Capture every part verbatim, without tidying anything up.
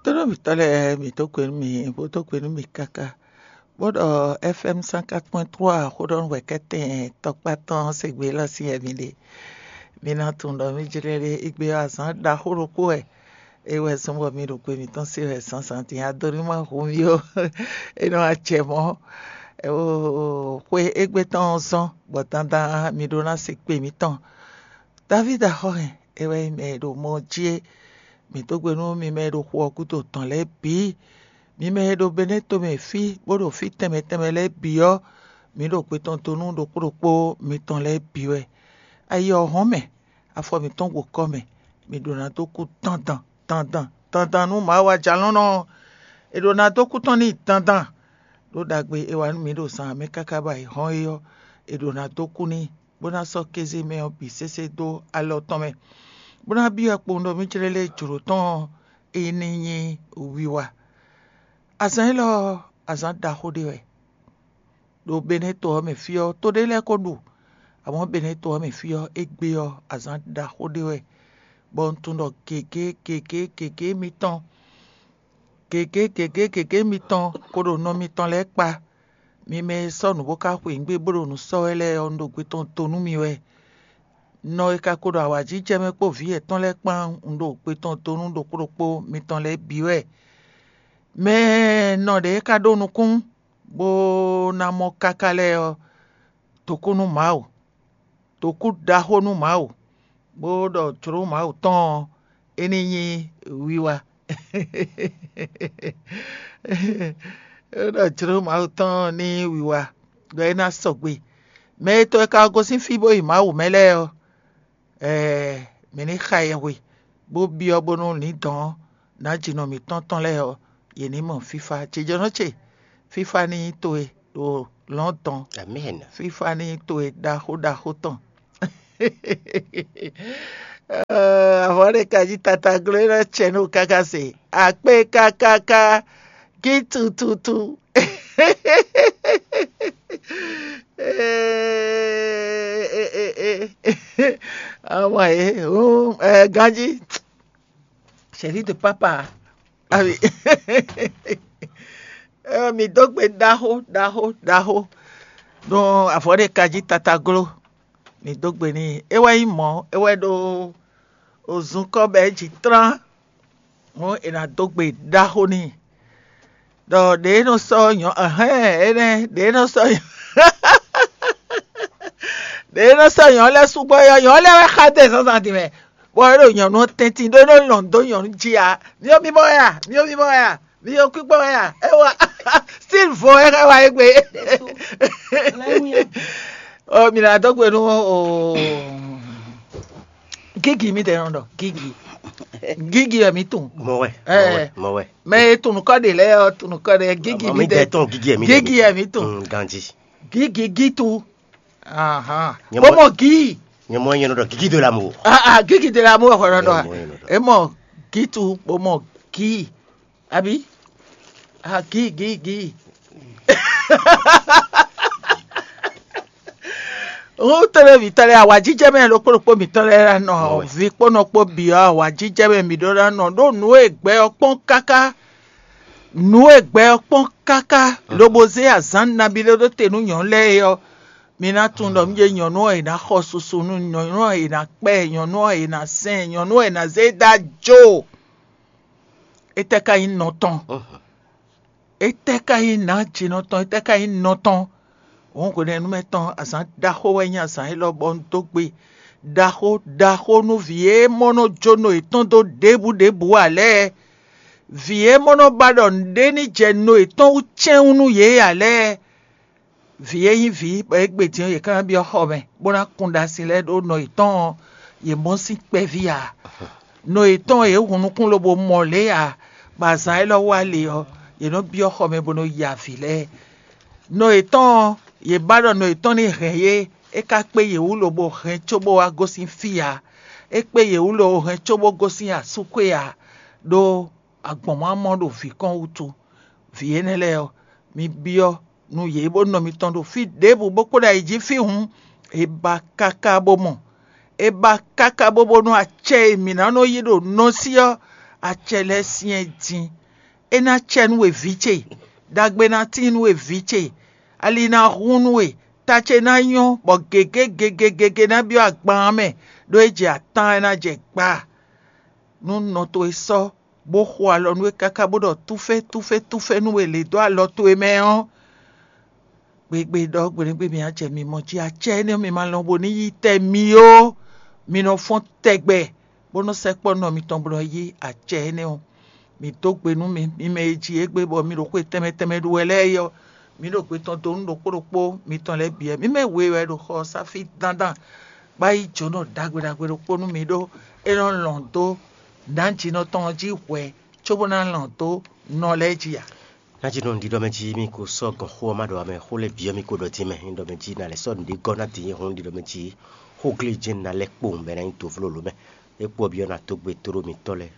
Tónúmítɔ́ lɛ́ɛ, mǐ dó gbe nú mi, bó dó gbe nú mi káká, bó ɖɔ F M cent quatre point trois xó ɖɔ nú wɛ̌kɛ́tɛn tɔkpá tɔn sɛgbě lɔ sín wɛ mi ɖe. Mi ná tunwun ɖɔ mí jlɛ́ ɖé égbé ɔ́, azǎn ɖaxó ɖokpó wɛ é wɛ zɔ́n bɔ mi ɖo gbe mǐtɔn se wɛ zǎnzǎn din. Ado ní ma hu mì ó, é nɔ wá jɛ mɔ̌. Xwe égbé tɔn ɔ́ zɔ́n bɔ dandan mi ɖó ná se kpe mǐtɔn. Davídi axɔ́hɛn, é wɛ nyí mɛ e ɖo mɔ jí é. Mǐ dó gbe nú mi mɛ e ɖo xu ɔ́ gúdo tɔn lɛ́ɛ bǐ. Mi mɛ e ɖo Benɛ́to mɛ fí, bó ɖo fí tɛnmɛ tɛnmɛ lɛ́ɛ bǐ ɔ́, mǐ ɖo gbe tɔn dó nú ɖokpó ɖokpó mitɔn lɛ́ɛ bǐ wɛ. Ayi ɔ́ hɔn mɛ, afɔ mǐtɔn gbo kɔ mɛ, mǐ ɖo ná dó kú dandan dandan dandan nú Mawu ajalɔ́nɔ ɔ́. È ɖo ná dó kú tɔn n'i dandan, ɖó ɖagbe e wa nú mǐ ɖo zan mɛ káká ba è hɔn é ɔ́, è ɖo ná dó kú n'i, bó ná sɔ́ kéze mɛ ɔ́ bǐ sésé dó alɔ tɔn mɛ, bó ná byɔ́ kpowun ɖɔ mí jlɛ́ lé jlǒ tɔn ɔ́, é ní nyí wiwa. Azǎn élɔ́ ɔ́, azǎn ɖaxó ɖé wɛ. Ɖo Benɛ́to ɔ́ mɛ fí ɔ́, to ɖé lɛ́ɛ ko ɖu, amɔ̌ Benɛ́to ɔ́ mɛ fí ɔ́, égbé ɔ́, azǎn ɖaxó ɖé wɛ, bɔ un tunwun ɖɔ gěgé gěgé gěgé mitɔn, gěgé gěgé gěgé mitɔn ko ɖo nɔ mitɔn lɛ́ɛ kpa. Mi mɛ e sɔ́ nǔ bó ka xweyǐgbe bó ɖo nǔ sɔ́ wɛ lɛ́ɛ ɔ́, un ɖo gbe tɔn to nú mi wɛ. Nɔ e ka ko ɖo awǎjijɛ mɛ kpó vǐ yětɔn lɛ́ɛ kpán, un ɖo gbe tɔn to nú ɖokpó ɖokpó mitɔn lɛ́ɛ bǐ wɛ. Mɛ e nɔ ɖě ka ɖó nukún, bó ná mɔ káká lɛ́ɛ ɔ́, dǒkú nú Mawu, dǒkú ɖaxó nú Mawu, bó ɖɔ jlǒ Mawu tɔn ɔ́, é ní nyí wiwa. Bó ɖɔ jlǒ Mawu tɔn ɔ́ ní nyí wiwa, ɖɔ é ná sɔgbe. Mɛ e tɔ e ka gosín fí bó yi Mawu mɛ lɛ́ɛ ɔ́, ɛɛ, mǐ ní xa yɛhwe, bó byɔ́ bónú lǐndɔ̌n ná jinɔ mǐtɔn tɔn lɛ́ɛ ɔ́, yě ní mɔ fífá. Jijɔnɔ ce, fífá ní nyí towe ɖo lɔ̌n dɔn. Amɛn. Fífá ní nyí towe ɖaxó ɖaxó tɔn. Avɔ ɖé ka jí tata gló é nɔ cɛ nú káká se. Akpé kákáká, gí tututu. Ama e, ganji, chéri de papa. Ami. Mi dó gbe ɖaxó ɖaxó ɖaxó. Nú avɔ ɖé ka jí tata gló, mi dó gbe n'i. É wɛ nyí mɔ̌, é wɛ ɖó ozunkɔ bɛ é jǐ tlán. Hǔn è nǎ dó gbe ɖaxó n'i. Ɖɔ ɖě nɔ sɔ́ nyɔ̌ ɛhɛn énɛ́ ɖě nɔ sɔ́ nyɔ̌ ɖě nɔ sɔ́ nyɔ̌ lɛ́ɛ súgbɔ yɔ nyɔ̌ lɛ́ɛ wɛ xa dó zǎnzǎn din mɛ, bɔ é ɖo nyɔ̌nu ɔ́ tɛ́ntin ɖó é nɔ lɔn dó nyɔ̌nu jí ǎ. Myɔ mimɔ wɛ a? Myɔ mimɔ wɛ a? Myɔ kpíkpɔ wɛ a? É wa stil vo é xa wa égbé. Ɔ mi nǎ dó gbe nú o. Gígì mi tɛ nɔ ɖɔ gígì. Gígì ɛ mi tún. Mɔ wɛ. Ɛ. Mɔ wɛ. Mɛ e tún nukɔ de lɛ ɔ tún nukɔ de gígì mi tɛ. Tɔn gígì ɛ mi tɛ. Gígì ɛ mi tún. Ganji. Gígì gítu. Ahan. Bó mɔ gíì. Nyɛ mɔ nyɛ nɔ ɖɔ gígì de la mo. Ah ah gígì de la mo xɔ nɔ ɖɔ. Ɛ mɔ gítu bó mɔ gíì. Abi? Ah, gígígí. Ŋutɔ́ lɛ́ɛ mǐtɔn lɛ́ɛ, awǎjijɛ mɛ ɖokpó ɖokpó mǐtɔn lɛ́ɛ ná nɔ, vǐ kpó nɔ kpó bǐ ɔ́, awǎjijɛ mɛ mǐ ɖó ná nɔ ɖó nǔ e gbɛ ɔ́ kpɔ́n káká. Nǔ e gbɛ ɔ́ kpɔ́n káká, lobo zé azǎn nabí ɖé ɖó te nú nyɔ̌nu lɛ́ɛ é ɔ́, mi ná tunwun ɖɔ mí ɖě nyɔ̌nu ɔ́ è nǎ xɔ susu nú nyɔ̌nu ɔ́ è nǎ kpɛ, nyɔ̌nu ɔ́ è nǎ sɛn, nyɔ̌nu ɔ́ è nǎ zé dó ajo. Étɛ́ ka nyí nɔ tɔn? Étɛ́ ka nyí nǎjinɔ tɔn? Étɛ́ ka nyí nɔ tɔn? Hǔn hwenɛ́nu mɛ tɔn azǎn ɖaxó wɛ nyí azǎn élɔ́ bɔ un dó gbe ɖaxó ɖaxó nú vǐ e mɔ nɔ jó nɔ yětɔn dó ɖěbǔ ɖěbǔ ǎ lɛ́ɛ. Vǐ e mɔ nɔ ba ɖɔ nǔɖé ní jɛ nɔ yětɔn wú cɛ́nwú nú yě ǎ lɛ́ɛ. Vǐ e nyí vǐ bɔ é gbe din ɔ́, yě ká ná byɔ́ xɔ mɛ, bó ná kun ɖasin lɛ́ɛ ɖó nɔ yětɔn ɔ́, yě mɔ sín kpɛví ǎ. Nɔ yětɔn ɔ́, yě hun nukún lobo mɔ lě ǎ, bɔ azǎn élɔ́ wá le ɔ́, yě nɔ byɔ́ xɔ mɛ bó nɔ ya avǐ lɛ́ɛ. Nɔ yětɔn ɔ́, yě ba ɖɔ nɔ yětɔn ní hɛn yě, é ka kpé yě wú lobo hɛn cóbó wá gosín fí ǎ. É kpé yě wú lobo hɛn cóbó gosín asúkwé ǎ, ɖó agbɔ̌nmamɔ ɖo vǐ kɔn wútu. Vǐ énɛ́ lɛ́ɛ ɔ́, mi byɔ́ nú yě bó nɔ mitɔn ɖo fí ɖěbǔ bó kpo ɖo ayǐ jí fí hǔn, é ba káká bó mɔ. É ba káká bó bónú acɛ e mǐ ná nɔ yí ɖo nɔsí ɔ́, Acɛ lɛ́ɛ syɛ́n din. É ná cɛ nú we vǐ ce, ɖagbe ná tíin nú we vǐ ce, ali ná hun nú we, ta ce ná nyɔ́, bɔ gěgé gěgé gěgé ná byɔ́ agban ɔ́ mɛ, ɖó é jɛ atán, é ná jɛ gba. Nú nɔ towe sɔ́, bó xo alɔ nú we káká bó ɖɔ túfé túfé túfé nú we lě dó alɔ towe mɛ ɔ́, gbegbe ɖɔ gbeɖégbé mi á jɛ mi mɔ jí acɛ énɛ́ mi ma lɔn bo ní yí tɛ mi ó. Mi nɔ fɔ́n tɛgbɛ, bó nɔ́ sɛkpɔ́ nɔ mitɔn bó nɔ yí acɛ énɛ́ ɔ́. Mi dó gbe nú mi, mi mɛ e ji égbé bɔ mi ɖo xwe tɛnmɛ tɛnmɛ ɖu wɛ lɛ́ɛ é ɔ́, mi ɖo gbe tɔn dó nú ɖokpó ɖokpó mitɔn lɛ́ɛ bǐ wɛ. Mi mɛ we wɛ ɖo xɔ ɔ́ sá fí dandan, bó ná yí jǒnɔ ɖagbe ɖagbe ɖokpó nú mi ɖó é nɔ lɔn dó nǎjinɔ tɔn ɔ́ jí hwɛ cóbó ná lɔn dó nɔ lɛ́ɛ jí ǎ. Nǎjinɔ ɖiɖɔ mɛ jí mi ko sɔ́ gɔn xó ɔ́ ma ɖɔ ǎ mɛ, xó lɛ́ɛ bǐ ɔ́ mi ko ɖɔ din mɛ. Nyí ɖɔ mɛ jí ná lɛ́ sɔ́ nǔɖé gɔ́ ná din nyí hɔn ɖiɖɔ mɛ jí xóglíjɛ́n ná lɛ́ kpowun bɔ é ná nyí dǒvló lǒ mɛ. É kpó ɔ́ byɔ́ ná dó gbe tóɖó mitɔ́ lɛ́ɛ,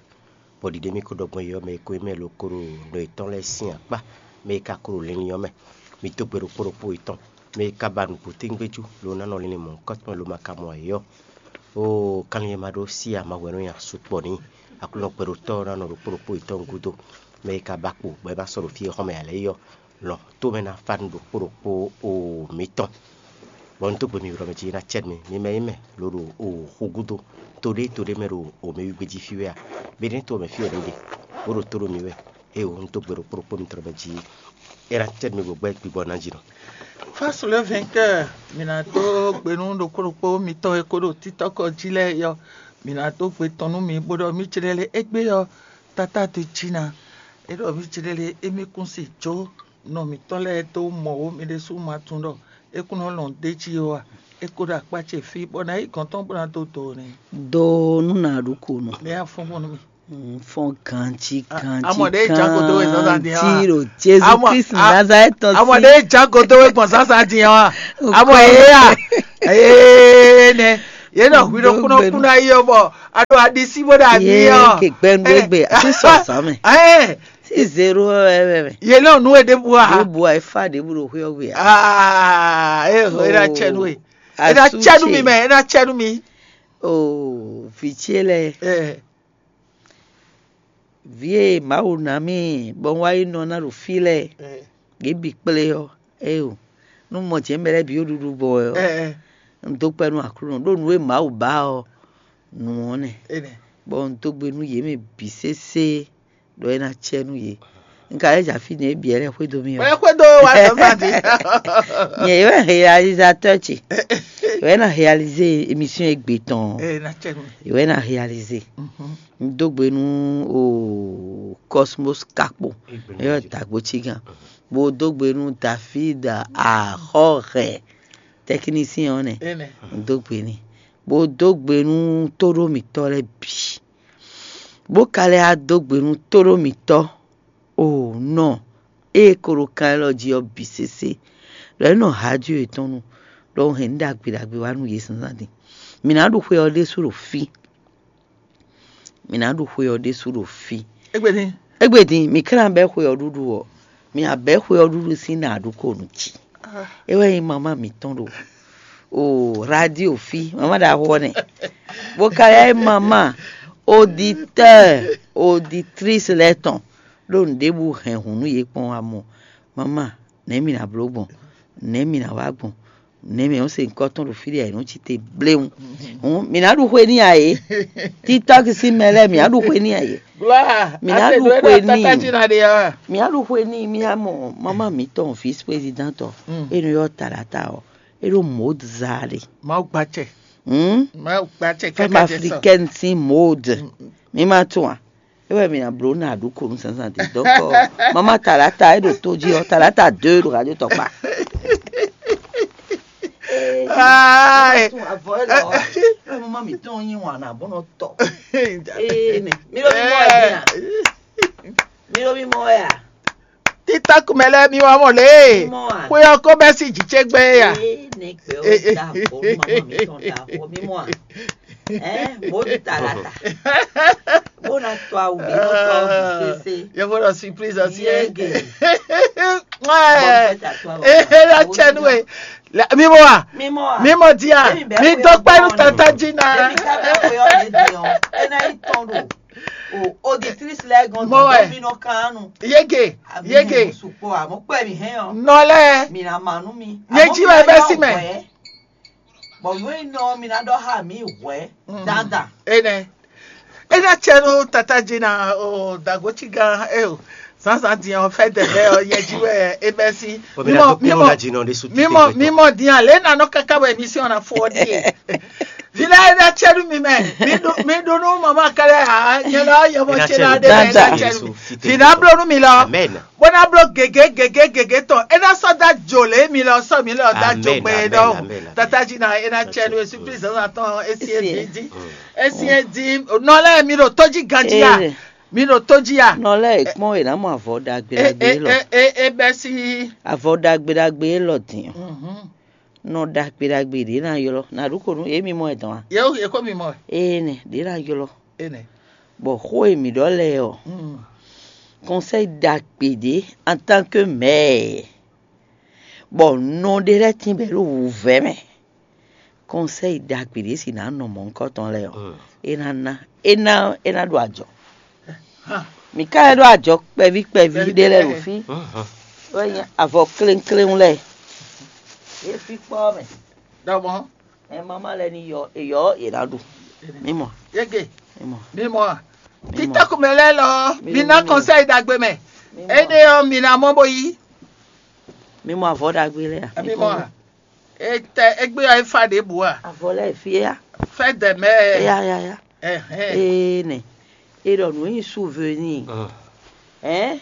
bɔ ɖiɖe mì ko ɖɔ gbɔn yɛ ɔ́ mɛ e ko nyí mɛ lo ko ɖo nɔ yětɔn lɛ́ɛ sín akpá, mɛ e ka ko ɖo linlin ɔ́ mɛ. Mi dó gbe ɖokpó ɖokpó yětɔn, mɛ e ka ba nǔgbó tɛ́ngbéjú lo ná nɔ linlin mɔ̌hunkɔtɔn lo ma ka mɔ yě ɔ́. Oo, kanlin e ma ɖó sí ama hwɛ nú nya sukpɔ́ n'i. Aklúnɔ gbɛɖotɔ́ ɔ́ ná nɔ ɖokpó ɖokpó yětɔn gúdo, mɛ e ka ba kpo bɔ é ma sɔ́ ɖo fí e xɔ́mɛ ǎ lɛ́ɛ é ɔ́, lɔn tó mɛ ná fá nú ɖokpó ɖokpó o mǐtɔn. Bɔ un dó gbe mi ylɔ́ mɛ jí ná cɛ́ mi, mi mɛ nyí mɛ lo ɖo o xu gúdo, to ɖé to ɖé mɛ ɖo o mɛ wígbé jí fí wɛ a? Bɛ ní to mɛ fí wɛ mi ɖe, bó ɖo tó ɖo mi wɛ. Ée o, un dó gbe ɖokpó ɖokpó mitɔn mɛ jí é ná cɛ́ mi bó gbɛ́ gbigbɔ ná jí nɔ. Face le vainqueur, mi ná dó gbe nú ɖokpó ɖokpó mitɔn e ko ɖo títɔ́kɔ jí lɛ́ɛ yɔ. Mi ná dó gbe tɔn nú mi bó ɖɔ mí jlɛ́ lé égbé ɔ́, tata do jí ná. É ɖɔ mí jlɛ́ lé émí kún si jó nɔ mǐtɔn lɛ́ɛ dó mɔ wǒ mi ɖésú ma tunwun ɖɔ é kún nɔ lɔn d'é jí ó a? É ko ɖo akpá ce fí bɔ ná yí gɔ̌n tɔn bó ná dó do n'i. Do nú nǎ ɖu ko nɔ. Nɛ́ afɔ́nfɔ́n nú mì. Fɔ́n ganjí ganjí. Amɔ ɖe é jǎ kodo wɛ zɔ́n zan din ɔ́ a? Ganjí ɖo Jezu Kristi Nazarɛ́tɔ sí. Amɔ ɖe é jǎ kodo wɛ gbɔn zan zan din ɔ́ a? Amɔ yě a? Ee nɛ yě nɔ hwi ɖo kúnɔ kúnɔ ayi ɔ́ bɔ a ɖo aɖisí bó ɖo ami ɔ́. Yé ke gbɛnu egbe a ti sɔ zan mɛ. Ɛ Si zero wɛ wɛ wɛ. Yě nɔ nú e ɖěbǔ a? Ɖěbǔ a e fa ɖěbǔ ɖo xwé ɔ́ gbe a? Aa, e e ɖo acɛ nú we. E ɖo acɛ nú mi mɛ, e ɖo acɛ nú mi. Oo, vǐ ce lɛ́ɛ. Ɛ Vǐ e Mawu ná mì bɔ un wá yi nɔ ná ɖo fí lɛ́ɛ, ɛ yě bǐ kplé ɔ́, éyo, nú mɔ jɛ̌n mɛ lɛ́ɛ bǐ ɖo ɖuɖu gbɔn wɛ ɔ́, ɛ un dó kpɛ́ nú Aklúnɔ ɖó nǔ e Mawu ba ɔ́, nǔ ɔ́ nɛ́. Enɛ. Bɔ un dó gbe nú yě mɛ bǐ sésé ɖɔ é ná cɛ nú yě. Un ka lɛ́ jɛ afí nɛ́ é bǐ lɛ́ xwedó mì ɔ́. Wɛ xwedó wa zɔzɔ di. Nyɛ yě wɛ réalisateur ce. Yě wɛ ná réaliser émission égbé tɔn. Ɛ na cɛ nú. Yě wɛ ná réaliser. Mhm. Un dó gbe nú o Cosmos Kakpo, é yɔ dagbo cigan, bó dó gbe nú David Ahɔhɛ, technicien ɔ́ nɛ. Enɛ. Un dó gbe n'i, bó dó gbe nú tóɖó mǐtɔn lɛ́ɛ bǐ, bó ka lɛ́ wá dó gbe nú tóɖó mǐtɔn o nɔ ée ko ɖo kan élɔ́ jí ɔ́ bǐ sésé, ɖɔ é nɔ há jí yětɔn nu, ɖɔ un hɛn nǔ ɖagbe ɖagbe wá nú yě zǎnzǎn din. Mǐ ná ɖu xwe ɔ́ ɖésú ɖo fí. Mǐ ná ɖu xwe ɔ́ ɖésú ɖo fí. Égbé din. Égbé din, mǐ ka ná bɛ́ xwe ɔ́ ɖuɖu ɔ́, mǐ ná bɛ́ xwe ɔ́ ɖuɖu sín nǎ ɖu ko nú jí. É wɛ nyí mamá mǐtɔn ɖo o radio fí, mamá ɖaxó ɔ́ nɛ. Bó ka lɛ́ nyí mamá auditeur, auditrice lɛ́ɛ tɔn ɖó nǔɖébǔ hɛn hǔn nú yě kpɔ́n wá mɔ. Mamá, nɛ̌ mǐ ná bló gbɔn? Nɛ̌ mǐ ná wá gbɔn? Nɛ̌ mǐ nɔ́ se nyǐkɔ tɔn ɖo fí ɖé a è nɔ́ cí te bléwún? Hǔn mǐ ná ɖu xwe n'i a ě? Títɔ́ki sín mɛ lɛ́ɛ mǐ ná ɖu xwe n'i a ě? Mǐ ná ɖu xwe n'i. Mǐ ná ɖu xwe n'i mí á mɔ mamá mǐtɔn vice président ɔ́, é nɔ ylɔ́ Talata ɔ́, é ɖo mǒd zaa ɖe. Mawu gbacɛ. Hǔn Mawu gbacɛ femme africaine sín mode. Mí ma tunwun a? É wɛ mǐ ná bló ná ɖu ko nú zǎnzǎn din. Donc, mamá Talata é ɖo tó jí ɔ́, Talata deux ɖo radio tɔkpa. Avɔ élɔ́ ɔ́, é wɛ mamá mǐtɔn yí wǎn ná bó nɔ tɔ. Ee, mi ɖo mi mɔ wɛ din a? Mi ɖo mi mɔ wɛ a? Títɔ́ kumɛ lɛ́ɛ mi wá mɔ lě e xwe ɔ́ ko bɛ́ sín jǐ ce gbɛn é a? Ee, nɛgbɛ ɔ́ da avɔ nú mamá mǐtɔn da avɔ mi mɔ a? Ɛɛ, mo ɖi Talata. Bó ná tɔ awu ɖé nɔ tɔ awu sese. Yɔvɔ ɖɔ surprise ɔ́ sí ɛ. Yege. Ee, la tsɛ nu e. Mi mɔ a? Mi mɔ a? Mi mɔ di a? Mi dɔ kpɛ nu tata dzi na. Ebi ka bɛ xwe ɔ́ ɖe di ɔ́, é ná yi tɔn ɖo O auditrice lɛ́ɛ gɔn Mɔ wɛ. Dɔn mi nɔ kan nu. Yege, Ami yege. Hɛn sukpɔ a, mo kpɛ mi hɛn ɔ. Nɔ lɛ. Mi na ma nu mi. Nyɛ jí wɛ bɛ si mɛ. Bɔn yóò nɔ mi na dɔ ha mi wɛ. Dada. Ene. Ena cɛ nu tata jí na o dagoci gan e o. Zanzan diyan o fɛ dɛbɛ o yɛ jí wɛ e bɛ si. Mimɔ mimɔ mimɔ diyan lɛ na nɔ kaka wɛ mi si ɔna fɔ die. Vila e da cɛ nu mi mɛ. Mi ɖu mi ɖu nu mama kɛlɛ ha nyɛ lɔ yɛ mɔ cɛ la de mɛ da cɛ nu. Vina blo nu mi lɔ. Bó ná bló gěgé gěgé gěgé tɔn é ná sɔ́ dó ajo lě mi lɔ sɔ́ mi lɔ dó ajo Amen, gbé amen, dɔn amen, amen. Tata jí na é ná tsɛ nu esu kristu zan tɔn esi Esi. Edi di esi edi nɔ lɛ mi ɖo tó jí ganjí ya Ee. Mi ɖo tó jí ya Nɔ lɛ è kpɔ́n è nǎ mɔ avɔ ɖagbe e ɖagbe e lɔ. E e e bɛ si Avɔ ɖagbe ɖagbe lɔ din. Nɔ ɖagbe ɖagbe ɖě ná ylɔ́. Nǎ ɖu ko nú yě mi mɔ ɛ dɔn a? Yě yě kó mi mɔ Ee nɛ, ɖě ná ylɔ́. Ene. Bɔ xó e mǐ ɖɔ lɛ́ɛ ɔ́, kɔnsɛ́yi ɖagbe ɖě en tant que mɛ̌, bɔ nɔ ɖé lɛ́ɛ tín bɔ é ɖo wǔvɛ́ mɛ. Kɔnsɛ́yi ɖagbe ɖě si nǎ nɔ mɔ̌hunkɔtɔn lɛ́ɛ ɔ́, é ná ná é ná é ná ɖo ajɔ. Mǐ ka lɛ́ ɖo ajɔ kpɛví kpɛví ɖé lɛ́ɛ ɖo fí. Wɛ nyí avɔ kléŋkléŋ lɛ́ɛ. É fí kpɔ́ mɛ. Ɖɔmɔ. Ɛ mama lɛ ni yɔ eyɔ yě ná ɖu. Mí mɔ. Yege. Mí mɔ. Mí mɔ a? Mí mɔ. Títɔ́kù mɛ lɛ́ɛ lɔ, Mí mi mɔ, ná mí mɔ. Kɔnsɛ́yi ɖagbe mɛ. Mí mɔ. Énɛ́ ɔ́, mi ná mɔ bó yí. Mí mɔ avɔ ɖagbe lɛ́ɛ a? Mi mɔ a? Etɛ égbé ɔ́, é fa ɖěbǔ a? Avɔ lɛ́ɛ fí a? Fɛ́ dɛ mɛ. Ya ya ya. Ɛhɛn. Ee nɛ. E ɖɔ nǔ nyi souvenir. Ɛn?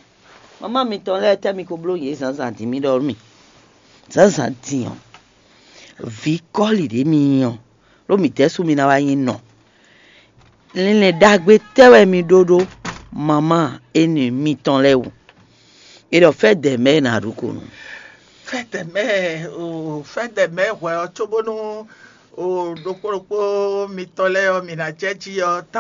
Mama mitɔn lɛ́ɛ tɛ́ mi ko bló yě zǎnzǎn dín mì ɖɔ nú mì. Zǎnzǎn din ɔ́, vǐ kɔ́li ɖě mi nyí ɔ́, ɖó mǐ dɛ́ sú mi ná wá nyí nɔ. Linlɛn ɖagbe tɛ́ wɛ mi ɖó ɖó mamá énɛ́ mitɔn lɛ́ɛ wú? E ɖɔ fɛ́ dɛ mɛ e nǎ ɖu ko nú. Fɛ́ dɛ mɛ o fɛ́ dɛ mɛ hwɛ ɔ́ cóbónú o ɖokpó ɖokpó mitɔn lɛ́ɛ ɔ́ mi ná jɛ jí ɔ́